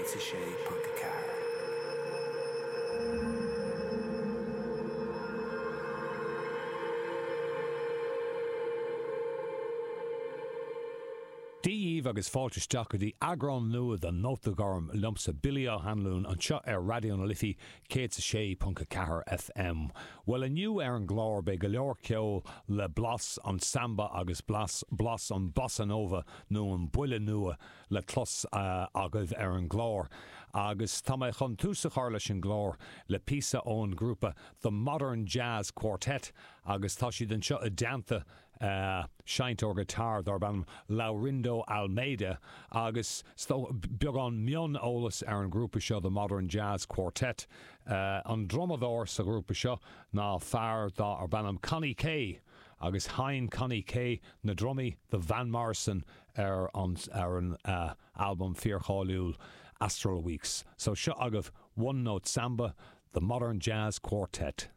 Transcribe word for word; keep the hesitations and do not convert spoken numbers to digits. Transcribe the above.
céad a sé ponc a ceathair. Dia dhaoibh agus fáilte isteach go dtí eagrán nua de Nóta Gorm liomsa Billy Ó hAnluain anseo ar Raidió na Life céad is a sé ponc a ceathair FM. Bhuel inniu ar an gclár beidh go leor ceoil le blas an samba agus blas blas an bossa nova nó an buille nua le clos agaibh ar an gclár. Agus tá mé chun tús a chur leis an gclár le píosa ón ngrúpa The Modern Jazz Quartet agus tá siad anseo i dteannta seinnteoir guitar darb ainm Laurindo Almeida agus beagán mioneolas ar an ngrúpa seo The Modern Jazz Quartet. An drumadóir sa ghrúpa seo ná fear darb ainm Connie Kay agus sheinn Connie Kay na drumaí do Van Morrison ar an ar an albam fíorcháiliúil Astral Weeks. So seo agaibh One Note Samba, The Modern Jazz Quartet.